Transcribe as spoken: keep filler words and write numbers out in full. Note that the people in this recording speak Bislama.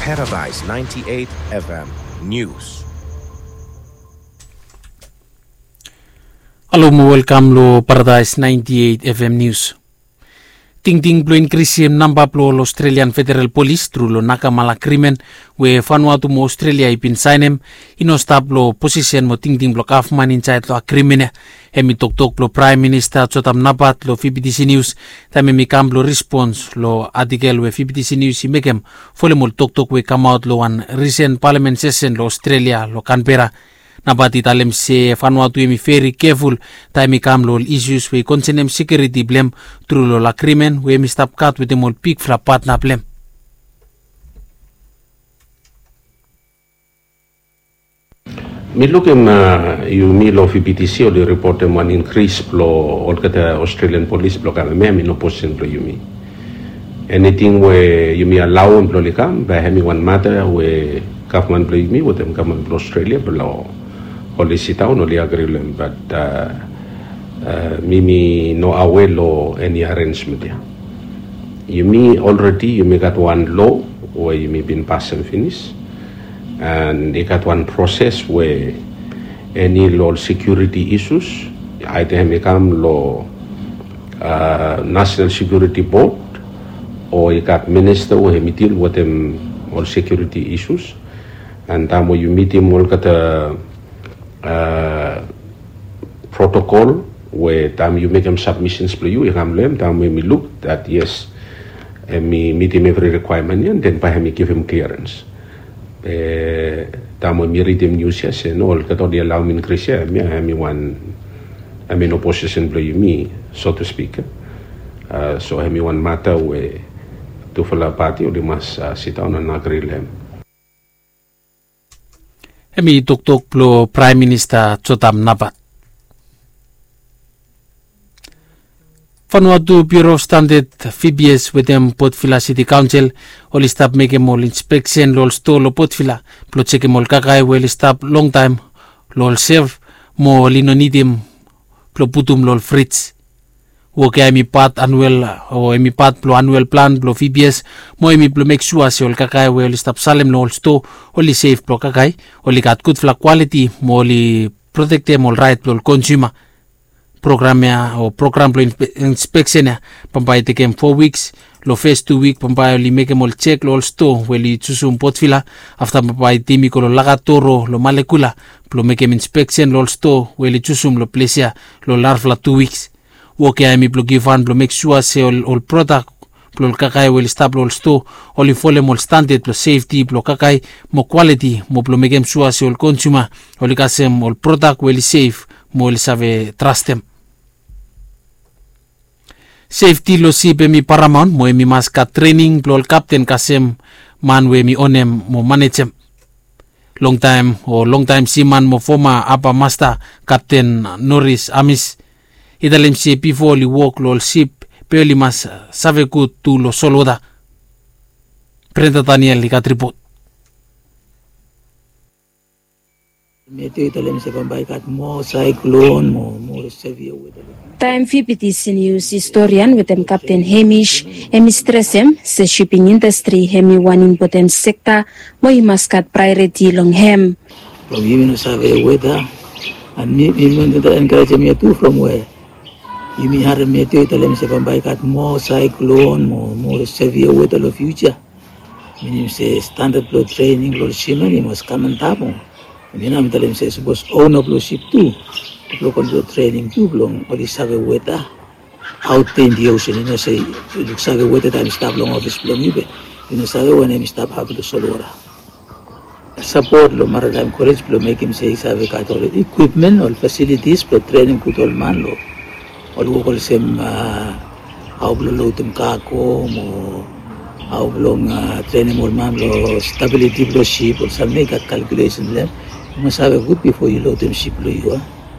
Paradise ninety-eight F M News. Halo mo welkam lo Paradise ninety-eight F M News. Tingting blo inkrisim namba blo ol Australian Federal Polis tru lo nakamala agrimen we Vanuatu mo Australia i bin saenem i no stap lo posisen mo tingting blo gavman insaed lo agrimen ya. Hem i toktok blo Praem Minista Jotham Napat lo V B T C News taem hem i kam blo rispons lo atikel we V B T C News i mekem folem ol toktok we i kamaot lo wan risen palamen sesen lo Australia lo Canberra. Napat i talem se Vanuatu hem i veri keful taem i kam lo ol isus we i konsenem sekiuriti blo hem tru lo ol agrimen we hem i stap gat wetem ol bigfala patna blo hem. Mi lukim yumi lo V B T C oli ripotem wan inkris blo olgeta Australian Polis blo kam hemia hem i no posisen blo yumi. Eniting we yumi alaoem blo oli kam bae hem i wan mata we gavman blo yumi wetem gavman blo Australia blo oli sidaon oli agri lo hem, bat mi mi no awe lo eni arensmen ya. Yumi olredi yumi gat wan loa we yumi bin pasem finis. And i gat wan proses we eni lo ol sekiuriti isus, aeda hem i kam lo National Security Board o i gat minista we hem i dil wetem ol sekiuriti isus. And taem we yu mitim olgeta protokol we taem yu mekem sabmisens blo yu i kam lo hem taem we hem i luk dat yes, hem i mitim evri rikwaemen ya, den bae hem i givim kliarens. Be taem we mi ridim nius ya se no, olgeta oli alaoem inkris ya, hemia hem i wan, hem i no posisen blo yumi, so to spik. So hem i wan mata we tufala pati oli mas sidaon and agri lo hem. Hem i toktok blo Praem Minista Jotham Napat. Vanuatu Bureau of Standard, V B S wetem Port Vila City Council oli stap mekem ol inspeksen lo ol stoa lo Port Vila blo jekem ol kakae we oli stap longtaem lo ol self mo oli no nidim blo putum lo ol frij. Wok ya hem i pat anuel o hem i pat blo anuel plan blo V B S mo hem i blo mek sua se ol kakae we oli stap salem lo ol stoa oli sef blo kakae, oli gat gudfala kwaliti mo oli protektem ol raet blo ol konsuma. Program ya o program blo inspeksen ya bambae i tekem fo wiks. Lo fes tu wik bambae oli mekem ol jek lo ol stoa we oli jusum Port Vila. Afta bambae tim i go lo Lakatoro lo Malekula blo mekem inspeksen lo ol stoa we oli jusum lo ples ya lo narafala tu wiks. Wok ya hem i blo givhan blo mek sua se ol prodak blo ol kakae we oli stap lo ol stoa oli folem ol standad blo sefti blo kakae mo kwaliti mo blo mekem sua se ol konsuma oli kasem ol prodak we oli sef mo oli save trastem. Sefti lo sip hem i paramaon mo hem i mas gat trening blo ol kapten kasem man we hem i onem mo manejem. Longtaem o longtaem siman mo foma apa masta Kapten Noris Amis i talem se bifo oli wok lo ol sip be oli mas save gud tu lo solwota. Brenda Daniel i gat ripot. Matthew i talem se bambae i gat moa saiklon mo moa sevia weta. Taem V B T C News historian wetem Kapten Hemish hem i stresem se shiping indastri hem i wan impoten sekta mo i mas gat praeoriti long hem. From yumi no save weta and mi mi mi wanta enkarejem ya tu from we yumi harem Matthew i talem se bambae i gat moa saiklon mo moa sevia weta long fiuja. Minim se standad blong trening blong ol siman i mas kam antap. Em ya nao mi talem se sapos ona blong sip tu blong go long trening tu blong oli save weta aut in di osen, i no se yu luk save weta taem i stap long ofis blong yu be yu no save wanem i stap hapin long solwota. Sapot long Maritime College blong mekim se i save gat ol ekwipmen, ol fasilitis blong trening gud ol man long ol wok olsem hao blong lodim kago mo hao blong trenim ol man long stabiliti blong sip, ol samting i gat kalkulesen blong hem. Yu mas save gud bifo yu lodim sip blong yu a.